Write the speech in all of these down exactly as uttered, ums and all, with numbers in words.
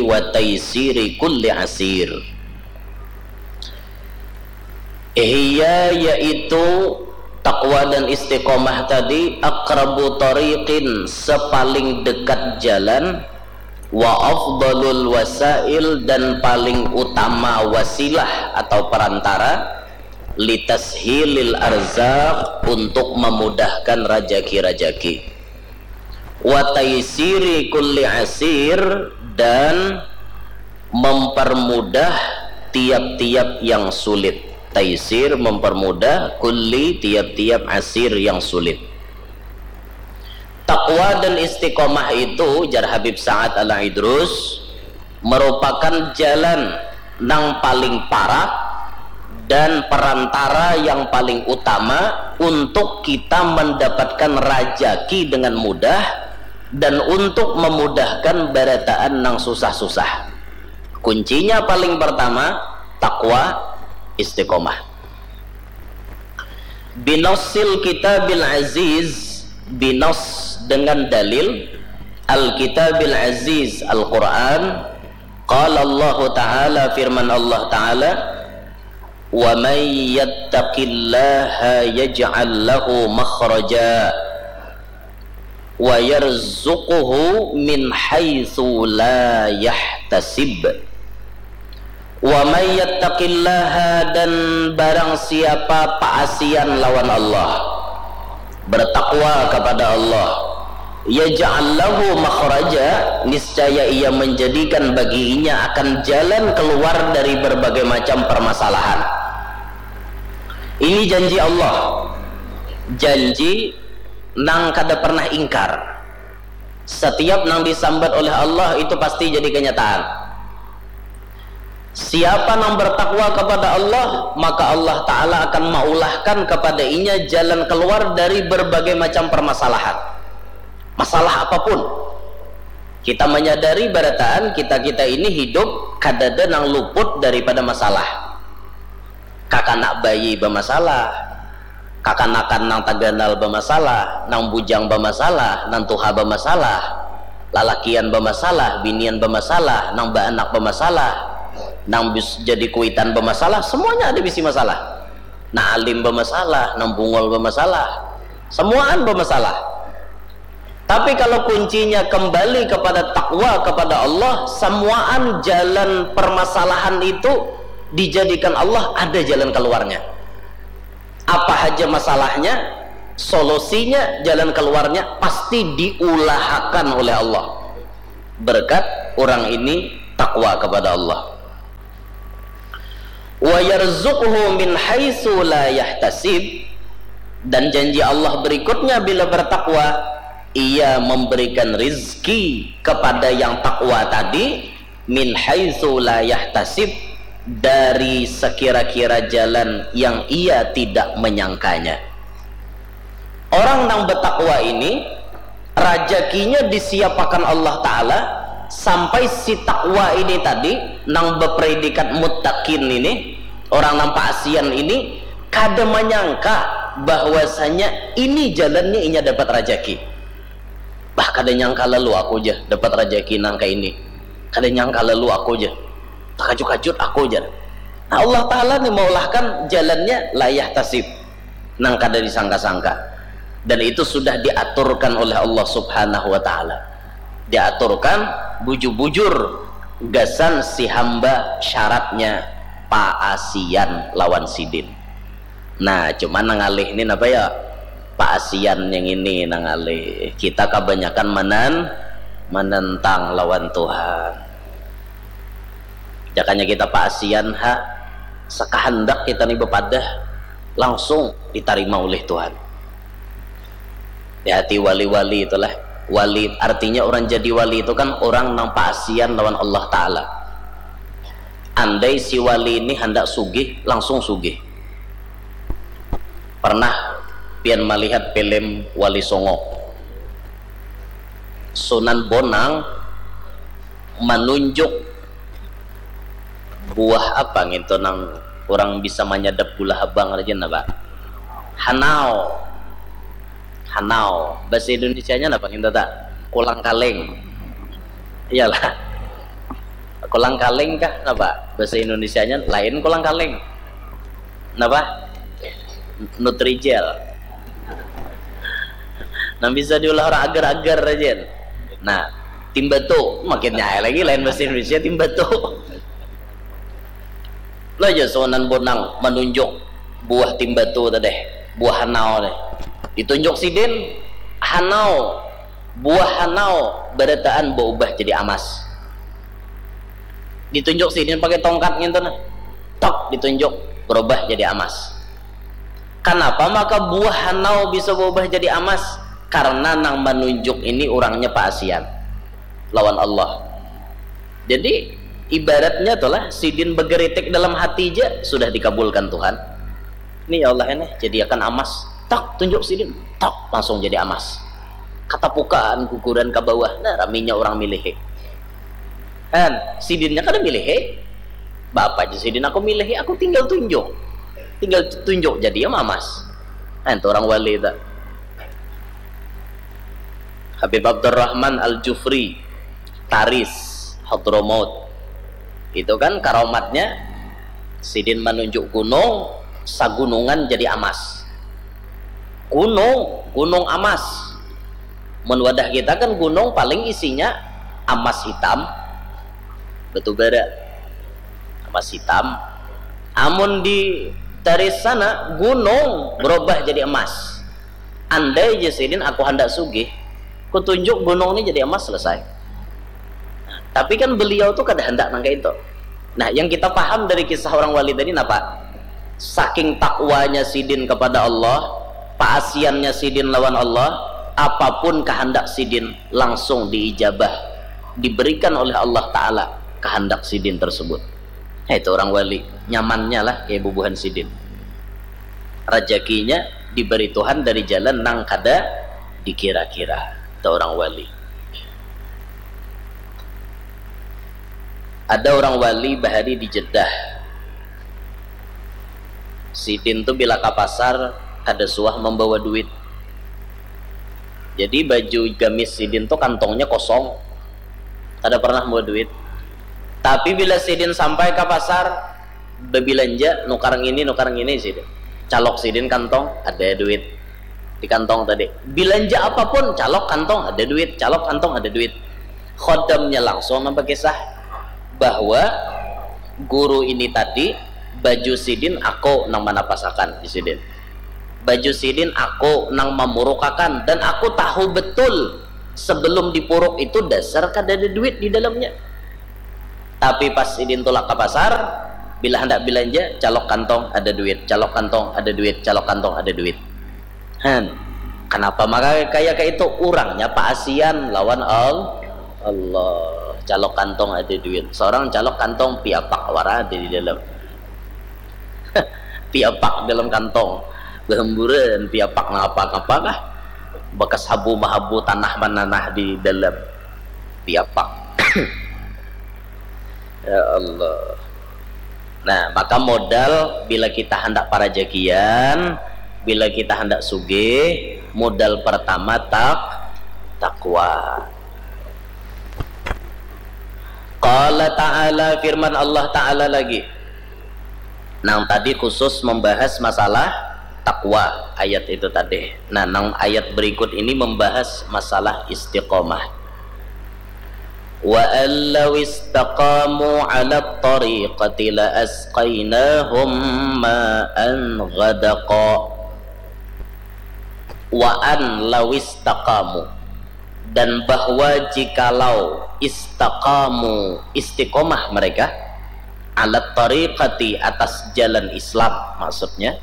wa taisiri kulli asir. Hiya, yaitu takwa dan istiqomah tadi, aqrabu tariqin, sepaling dekat jalan, wa afdalul wasail, dan paling utama wasilah atau perantara, litashilil arzak, untuk memudahkan rajaki-rajaki, wa taisiri kulli asir, dan mempermudah tiap-tiap yang sulit. Taisir, mempermudah, kulli, tiap-tiap, asir, yang sulit. Takwa dan istiqomah itu, jar Habib Sa'ad Al-Idrus, merupakan jalan nang paling parak dan perantara yang paling utama untuk kita mendapatkan rajaki dengan mudah dan untuk memudahkan barataan nang susah-susah. Kuncinya paling pertama, takwa, istiqomah. Binassil kitabil aziz, binas, dengan dalil, al kitabil aziz, Al-Quran. Qala Allahu Ta'ala, firman Allah Ta'ala, wa may yattaqillaha yaj'al lahu makhraja wa yarzuquhu min haitsu la yahtasib. Wa may yattaqillaha, dan barang siapa paasian lawan Allah, bertakwa kepada Allah, yaj'al lahu makhraja, niscaya Ia menjadikan baginya akan jalan keluar dari berbagai macam permasalahan. Ini janji Allah, janji nang kada pernah ingkar. Setiap nang disambat oleh Allah itu pasti jadi kenyataan. Siapa nang bertakwa kepada Allah, maka Allah Ta'ala akan maulahkan kepada inya jalan keluar dari berbagai macam permasalahan. Masalah apapun. Kita menyadari barataan kita-kita ini hidup kadada nang luput daripada masalah. Kakanak bayi bamasalah, kakanakan nang taganal bamasalah, nang bujang bamasalah, nang tuha bamasalah, lalakian bamasalah, binian bamasalah, nang baanak bamasalah, nang bis jadi kuitan bamasalah, semuanya ada bisi masalah. Nang alim bamasalah, nang bungul bamasalah, semuaan bamasalah. Tapi kalau kuncinya kembali kepada takwa kepada Allah, semuaan jalan permasalahan itu dijadikan Allah ada jalan keluarnya. Apa haja masalahnya, solusinya, jalan keluarnya pasti diulahakan oleh Allah. Berkat orang ini takwa kepada Allah. Wa yarzuqhu min haitsu la yahtasib, dan janji Allah berikutnya bila bertakwa, Ia memberikan rizki kepada yang takwa tadi, min haitsu la yahtasib, dari sekira-kira jalan yang ia tidak menyangkanya. Orang nang bertakwa ini rajakinya disiapakan Allah Ta'ala sampai si takwa ini tadi nang berpredikat muttaqin ini, orang nang paasian ini kada menyangka bahwasanya ini jalannya inya dapat rajaki. Bah, kada nyangka lalu aku ja dapat rajaki nang kayak ini. Kada nyangka lalu aku ja. Takajut-kajut aku ja. Nah, Allah Ta'ala nih maulahkan jalannya la yahtasib, nang kada disangka-sangka. Dan itu sudah diaturkan oleh Allah Subhanahu wa Ta'ala. Diaturkan bujur-bujur gasan si hamba syaratnya paasian lawan sidin. Nah, cuman nang ngalih ni napa ya? Paasian yang ini nang ngalih. Kita kabanyakan manan-, manentang lawan Tuhan. Jakanya kita paasian ha, sakahandak kita ni bapadah, langsung ditarima ulih Tuhan. Hati-hati wali-wali itulah. Wali, artinya orang jadi wali itu kan orang nang paasian lawan Allah Ta'ala. Andai si wali ini handak sugih, langsung sugih. Pernah pian malihat film Wali Songo? Sunan Bonang manunjuk buah apa ngintu nang orang bisa manyadap gula habang rajin apa? Hanau. Hanau. Bahasa Indonesianya apa ngintu tak? Kulang kaling. Iyalah. Kolang kaling kah? Napa bahasa Indonesianya? Lain kolang kaling. Napa? Nutrijel. Nang bisa diulah orang agar-agar aja. Nah, timbatu, makin nyai lagi, lain bahasa Indonesia, timbatu. Lah ya, Sunan Bonang menunjuk buah timbatu tadi, buah hanau deh. Ditunjuk sidin, hanau, buah hanau barataan berubah jadi amas. Ditunjuk sidin pakai tongkat ngintu nah. Tok, ditunjuk, berubah jadi amas. Kenapa maka buah hanau bisa berubah jadi amas? Karena nang menunjuk ini orangnya paasian lawan Allah. Jadi ibaratnya tuh lah, sidin begeritik dalam hati aja sudah dikabulkan Tuhan. Ini ya Allah ini, jadiakan amas. Tak, tunjuk sidin, tak, langsung jadi amas. Katapukaan guguran ke bawah, nah, raminya orang milihi. Han, sidinnya kada milihi. Bapak aja sidin aku milihi, aku tinggal tunjuk. Tinggal tunjuk jadi ya mamas. Han, itu orang wali tak. Habib Abdurrahman Al-Jufri, Taris, Hadramaut. Itu kan karomatnya, sidin menunjuk gunung, sagunungan jadi amas. Gunung, gunung amas. Mun wadah kita kan gunung paling isinya amas hitam, batu bara, amas hitam. Amun di Taris sana, gunung berubah jadi emas. Andai aja sidin aku handak sugih, kutunjuk gunung ini jadi emas, selesai. Tapi kan beliau tuh kada handak nang kayak itu. Nah, yang kita paham dari kisah orang wali tadi napa? Saking takwanya sidin kepada Allah, paasiannya sidin lawan Allah, apapun kehendak sidin langsung diijabah, diberikan oleh Allah Ta'ala kehendak sidin tersebut. Nah, itu orang wali, nyamannya lah kayak bubuhan sidin. Rajakinya diberi Tuhan dari jalan nang kada dikira-kira. Itu orang wali. Ada orang wali bahari di Jeddah. Sidin tu bila ka pasar kada suah membawa duit. Jadi baju gamis sidin tu kantongnya kosong. Kada pernah membawa duit. Tapi bila sidin sampai ka pasar, bebilanja, nukar ngini, nukar ngini sidin. Calok sidin kantong, ada duit di kantong tadi. Bilanja apapun, calok kantong, ada duit, calok kantong, ada duit. Khodamnya langsung nang bakisah bahwa guru ini tadi, baju sidin aku nang manapasakan di sidin. Baju sidin aku nang mamurukakan, dan aku tahu betul sebelum dipuruk itu dasar kada ada duit di dalamnya. Tapi pas sidin tulak ka pasar, bila handak bilanja, calok kantong ada duit, calok kantong ada duit, calok kantong ada duit. Han, kenapa maka kaya kaitu? Urangnya paasian lawan Al-, Allah. Calok kantong ada duit. Seorang calok kantong piapak wara ada di dalam. Piapak dalam kantong. Bahamburan piapak nang apa-apa kah? Bakas habu mahabu, tanah mananah di dalam piapak. Ya Allah. Nah, maka modal bila kita handak parajakian, bila kita handak sugih, modal pertama tak-, takwa. Qala ta'ala, firman Allah Ta'ala lagi. Nang tadi khusus membahas masalah takwa, ayat itu tadi. Nah, nang ayat berikut ini membahas masalah istiqomah. Wa an law istaqamu ala tariqati la asqainahum ma'an ghadaqa. Wa an law istaqamu, dan bahwa jikalau istaqamu, istiqomah mereka, ala tariqati, atas jalan Islam, maksudnya,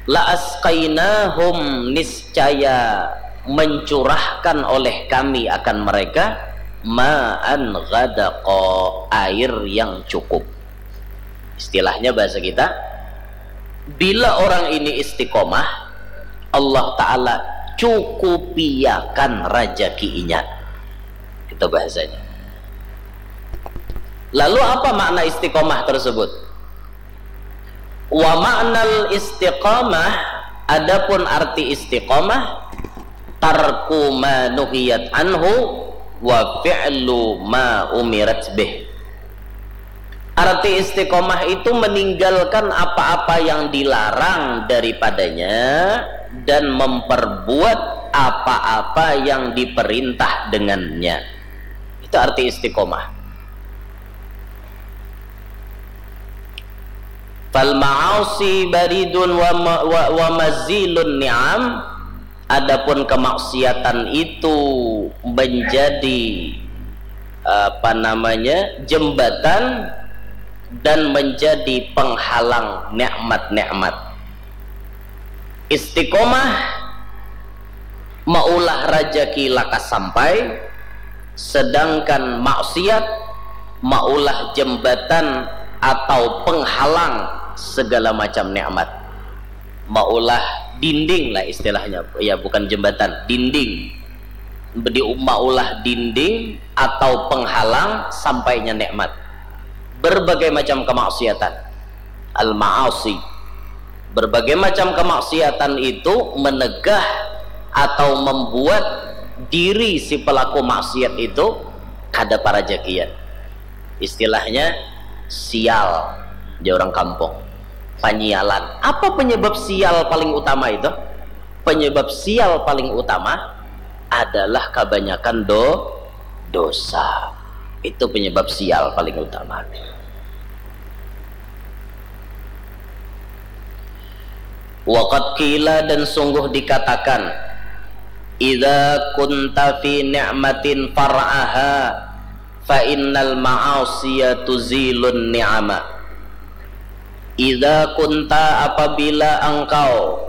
la asqainahum, niscaya mencurahkan oleh kami akan mereka, ma'an ghadaqa, air yang cukup. Istilahnya bahasa kita, bila orang ini istiqomah, Allah Ta'ala cukupiakan rajakinya. Itu bahasanya. Lalu apa makna istiqomah tersebut? Wa ma'nal istiqamah, adapun arti istiqamah, tarku ma nuhiyat anhu wa fi'lu ma umirat bih. Arti istiqomah itu meninggalkan apa-apa yang dilarang daripadanya dan memperbuat apa-apa yang diperintah dengannya. Itu arti istiqomah. Fal ma'asi baridun wa, ma- wa, wa mazilun ni'am. Adapun kemaksiatan itu menjadi, apa namanya, jembatan dan menjadi penghalang nikmat-nikmat. Istiqomah maulah rajaki lakas sampai, sedangkan maksiat maulah jembatan atau penghalang segala macam nikmat. Maulah dinding lah istilahnya, ya, bukan jembatan, dinding. Di maulah dinding atau penghalang sampainya nikmat. Berbagai macam kemaksiatan, al-ma'asi. Berbagai macam kemaksiatan itu menegah atau membuat diri si pelaku maksiat itu kada parajakian. Istilahnya sial, jar orang kampung. Panyialan. Apa penyebab sial paling utama itu? Penyebab sial paling utama adalah kebanyakan do dosa. Itu penyebab sial paling utama. Waqad qila, dan sungguh dikatakan, idza kunta fi ni'matin far'aha fa innal ma'asiya tuzilun ni'ama. Idza kunta, apabila engkau,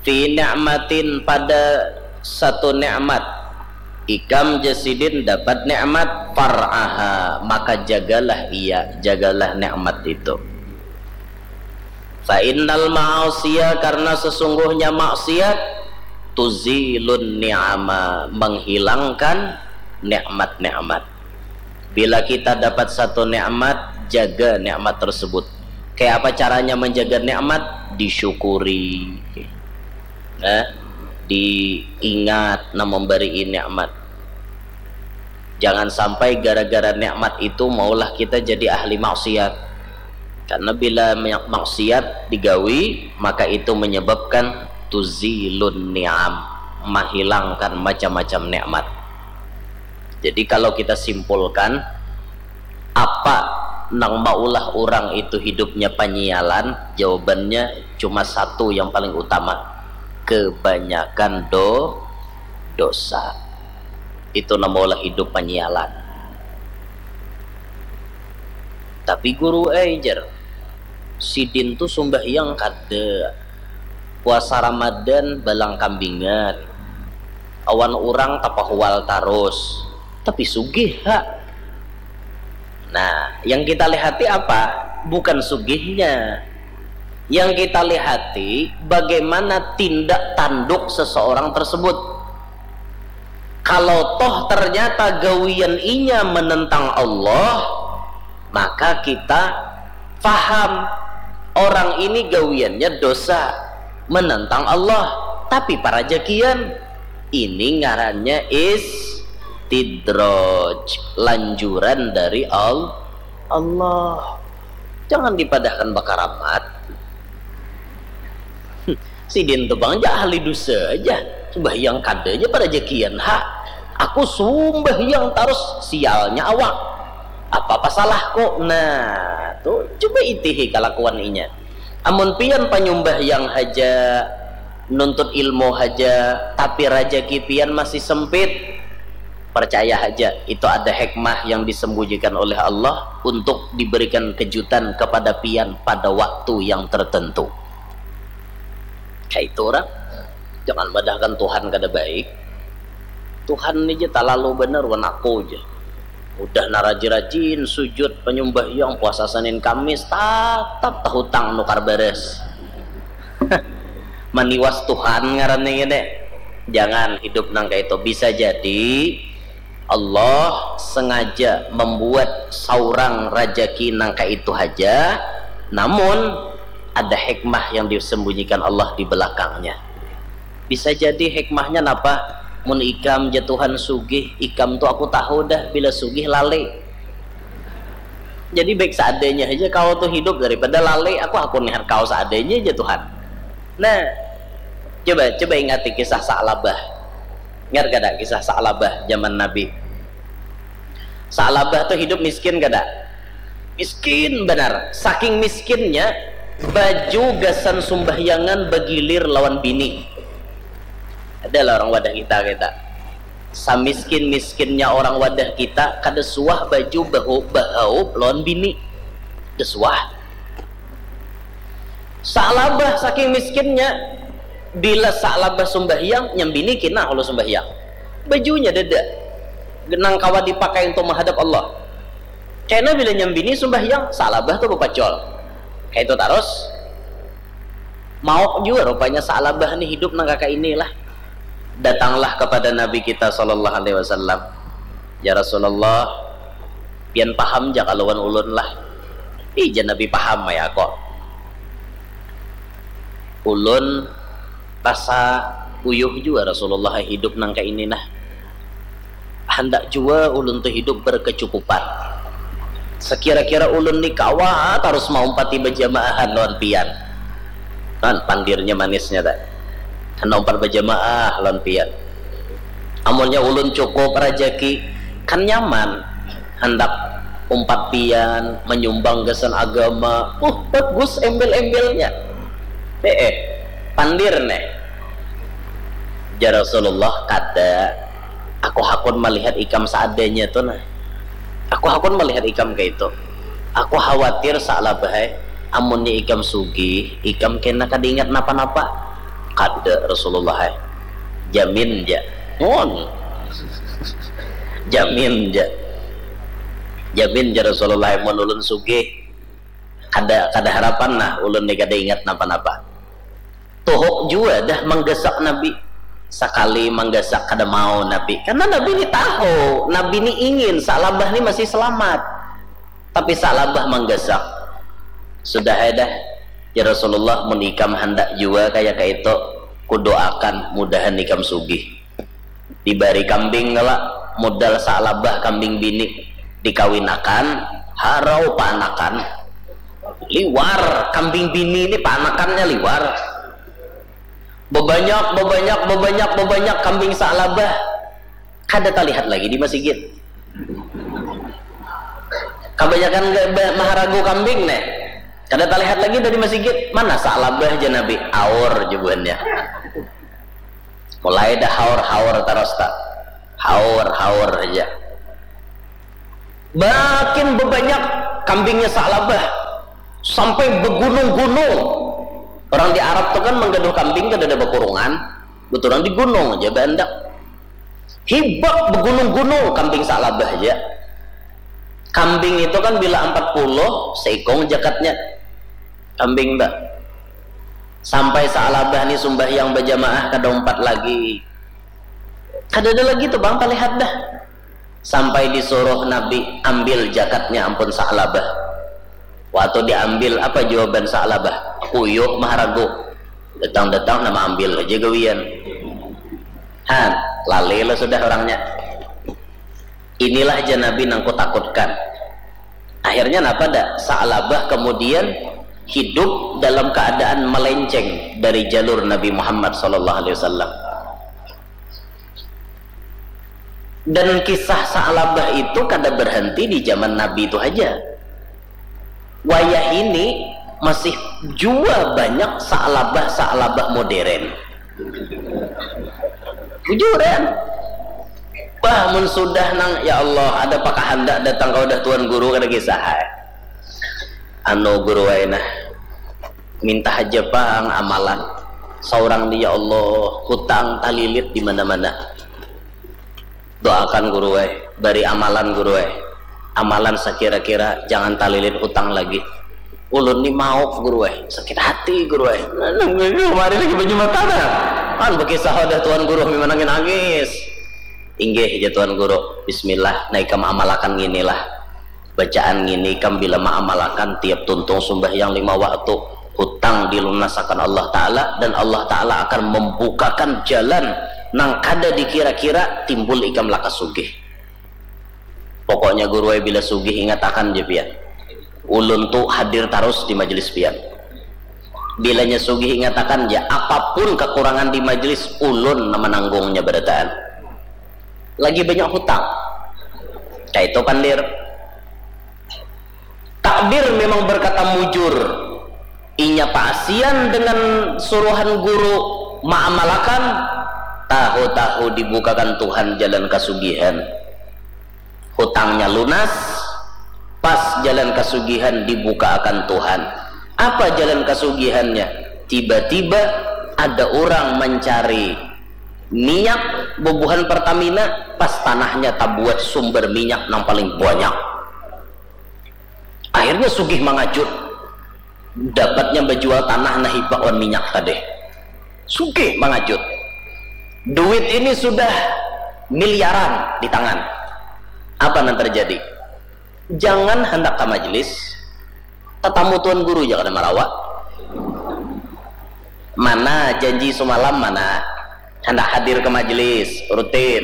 fi ni'matin, pada satu nikmat, ikam jasidin dapat nikmat, far'aha, maka jagalah ia, jagalah nikmat itu. Fa innal ma'asiya, karena sesungguhnya maksiat, tuzilun ni'ama, menghilangkan nikmat-nikmat. Bila kita dapat satu nikmat, jaga nikmat tersebut. Kayak apa caranya menjaga nikmat? Disyukuri. Nah, diingat nang memberi nikmat. Jangan sampai gara-gara nikmat itu maulah kita jadi ahli maksiat. Karena bila maksiat digawi, maka itu menyebabkan tuzilun ni'am, menghilangkan macam-macam nikmat. Jadi kalau kita simpulkan, apa nang maulah orang itu hidupnya panyialan? Jawabannya cuma satu yang paling utama, kebanyakan do dosa. Itu nang maulah hidup panyialan. Tapi guru ai, jar, sidin tu sumbahyang kada, puasa Ramadan balang kambingan, awan urang tapahual tarus, tapi sugih ha. Nah, yang kita lihati apa? Bukan sugihnya. Yang kita lihati bagaimana tindak tanduk seseorang tersebut. Kalau toh ternyata gawian inya menentang Allah, maka kita faham orang ini gawiannya dosa, menentang Allah, tapi parajakian. Ini ngarannya istidraj, lanjuran dari Al- Allah. Jangan dipadahkan bakaramat. Sidin tu bang ja ahli dosa aja. Sumbahyang kada aja parajakian ha. Aku sumbahyang tarus, sialnya awak. Apa pasalahku? Nah, tu coba itihi kalakuan inya. Amun pian panyumbahyang haja, nuntut ilmu haja, tapi rajaki pian masih sempit, percaya haja, itu ada hikmah yang disembunyikan oleh Allah untuk diberikan kejutan kepada pian pada waktu yang tertentu. Kayak itu orang, jangan madahkan Tuhan kada baik. Tuhan ni ja talalu banar wan aku ja. Udah naraji-rajin sujud panyumbahyang puasa Senin Kamis, tatap tahutang nukar baras. Maniwas Tuhan ngarannya gini. Jangan hidup nang kayak itu. Bisa jadi Allah sengaja membuat saurang rajaki nang kayak itu haja, namun ada hikmah yang disembunyikan Allah di belakangnya. Bisa jadi hikmahnya napa? Mun ikam ja Tuhan sugih, ikam tu aku tahu dah bila sugih lali. Jadi baik seadanya saja kau tuh hidup, daripada lalai aku hakun nihan kau seadanya aja Tuhan. Nah, coba coba ingati kisah Sa'labah. Ingat kada kisah Sa'labah zaman Nabi? Sa'labah tuh hidup miskin kada? Miskin benar. Saking miskinnya, baju gasan sumbahyangan bagilir lawan bini. Adalah orang wadah kita kita. Samiskin-miskinnya orang wadah kita, kada suah baju bahaup lawan bini. Kada suah. Sa'labah saking miskinnya, bila Sa'labah sumbahyang, nyambini kina kalau sumbahyang. Bajunya dada. Nang kawa dipakai untuk menghadap Allah. Kena bila nyambini sumbahyang, Sa'labah tuh bepacol. Kayak itu terus. Mauk jua rupanya Sa'labah nih hidup nang kaka inilah. Datanglah kepada Nabi kita sallallahu alaihi wasallam. Ya Rasulullah, pian paham ja kaluan ulun lah. Ih, jar Nabi, paham ya kok. Ulun rasa uyuh jua Rasulullah hidup nang kaya ini nah. Handak jua ulun tu hidup berkecukupan. Sekira-kira ulun ni kawa tarus maumpati bajamaahan lawan pian. Kan pandirnya manisnya tak. Handak umpat bajamaah lawan pian. Amunnya ulun cukup rajaki, kan nyaman. Handak umpat pian, menyumbang gasan agama. Uh, bagus embel-embelnya. Eh, eh, pandir neh. Jar Rasulullah, kada. Aku hakun melihat ikam seadanya tu nah. Aku hakun melihat ikam kayak itu. Aku khawatir Sa'labah ai. Amunnya ikam sugih, ikam kena kada ingat napa-napa. Kada Rasulullah ai. Jamin ja. Ngon. Jamin ja. Jamin ja Rasulullah ai, mun ulun sugih. Kada, kada harapan nah ulun ni kada ingat napa-napa. Tuhuk jua dah manggasak Nabi. Sakali manggasak kada mau Nabi. Karena Nabi ni tahu, Nabi ni ingin Sa'labah ni masih selamat. Tapi Sa'labah manggasak. Sudah ai dah, ya Rasulullah, mun ikam handak jua kaya kaitu, kudoakan mudahan ikam sugih. Dibari kambing kala, modal Sa'labah kambing bini, dikawinakan, harau paanakan. Liwar, kambing bini ni paanakannya liwar. Bebanyak, bebanyak, bebanyak, bebanyak kambing Sa'labah. Kada talihat lagi di masigit. Kabanyakan ga-, ba-, maharagu kambing neh. Kada talihat lagi dari masigit. Mana Sa'labah, jar Nabi? Aur, jar buhannya. Mulai dah haur-haur taros ta. Haur-haur haja. Makin bebanyak kambingnya Sa'labah. Sampai begunung-gunung. Orang di Arab tu kan manggaduh kambing kadada bakurungan. Buturang di gunung aja baandak. Hibak begunung-gunung kambing Sa'labah aja. Kambing itu kan bila ampat puluh, seikung jakatnya. Kambing, Mbak. Sampai Sa'labah ni sumbahyang bajamaah kada umpat lagi. Kadada lagi tu, Bang, talihat dah. Sampai disuruh Nabi ambil jakatnya ampun Sa'labah. Waktu diambil, apa jawaban Sa'labah? Uyuh maharagu. Datang-datang nama ambil aja gawian. Han, lalai lah sudah orangnya. Inilah aja Nabi nang kutakutkan. Akhirnya napa dah? Sa'labah kemudian hidup dalam keadaan melenceng dari jalur Nabi Muhammad sallallahu alaihi wasallam. Dan kisah Sa'labah itu kada berhenti di zaman Nabi itu aja. Wayah ini masih jua banyak Sa'labah-Sa'labah modern. Bujuran. Bah, mun sudah nang, ya Allah, ada pakahandak datang ka wadah Tuan Guru kada kisah ai. Anu Guru ai nah. Minta haja pang amalan. Saurang ni, ya Allah, hutang talilit di mana-mana. Doakan Guru ai, bari amalan Guru ai. Amalan sakira-kira jangan talilit hutang lagi. Ulun ni mauk Guru ai, sakit hati Guru ai. Kemarin lagi baju mata dah. Kan bakisah wadah Tuan Guru sambil menangis-nangis. Inggih, jar Tuan Guru. Bismillah, nah ikam amalakan nginilah. Bacaan ngini kam bila maamalakan tiap tuntung sumbahyang lima waktu, hutang dilunasakan Allah Ta'ala, dan Allah Ta'ala akan membukakan jalan nang kada dikira-kira timbul ikam lakas sugih. Pokoknya Guru ai bila sugih ingatakan ja pian. Ulun tu hadir tarus di majelis pian. Bilanya sugih, ingatakan ja, apapun kakurangan di majelis, ulun nang mananggungnya barataan. Lagi banyak hutang. Kaitu pandir. Takdir memang berkata mujur. Inya paasian dengan suruhan guru maamalakan, tahu-tahu dibukakan Tuhan jalan kasugihan. Hutangnya lunas, pas jalan kasugihan dibukaakan Tuhan. Apa jalan kasugihannya? Tiba-tiba ada urang mancari minyak bubuhan Pertamina, pas tanahnya tabuat sumber minyak nang paling banyak. Akhirnya sugih mangajut, dapatnya bajual tanah nang hibak wan minyak tadi. Sugih mangajut. Duit ini sudah miliaran di tangan. Apa nang terjadi? Jangan handak ka majelis, tatamu tuan guru ja kada marawa. Mana janji sumalam, mana? Handak hadir ke majelis rutin.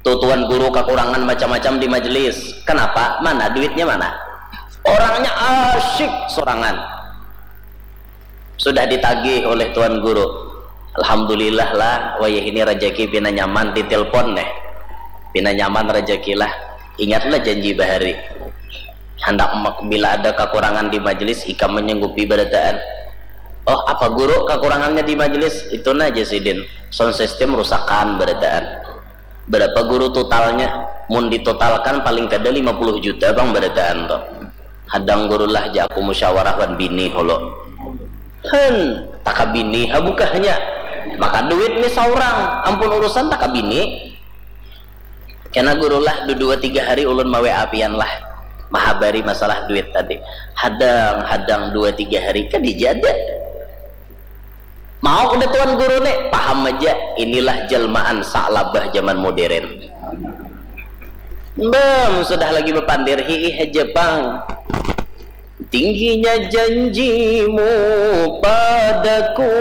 Tu tuan guru kakurangan macam-macam di majelis. Kenapa? Mana duitnya, mana? Orangnya asyik sorangan. Sudah ditagih oleh tuan guru. Alhamdulillah lah, wayah ini rajaki pina nyaman ditelepon neh. Pina nyaman rajaki lah. Ingatlah janji bahari. Handak mak-, bila ada kakurangan di majelis, ikam menyanggupi barataan. Oh, apa guru kakurangannya di majelis? Itu nah, jar sidin. Sound system rusakan barataan. Berapa guru totalnya? Mun ditotalkan paling kada lima puluh juta pang barataan tu. Hadang guru lah, ja aku musyawarah wan bini hulu. Hen, taka bini ha bukahnya. Maka duit ni saurang, ampun urusan taka bini. Kena guru lah, dua tiga hari ulun ma-W A pian lah, mahabari masalah duit tadi. Hadang, hadang dua tiga hari, kada jadi. Mau kada tuan guru ni? Paham aja, inilah jelmaan Sa'labah zaman modern. Bam, sudah lagi bapandir, hiih aja pang. Tingginya janjimu padaku,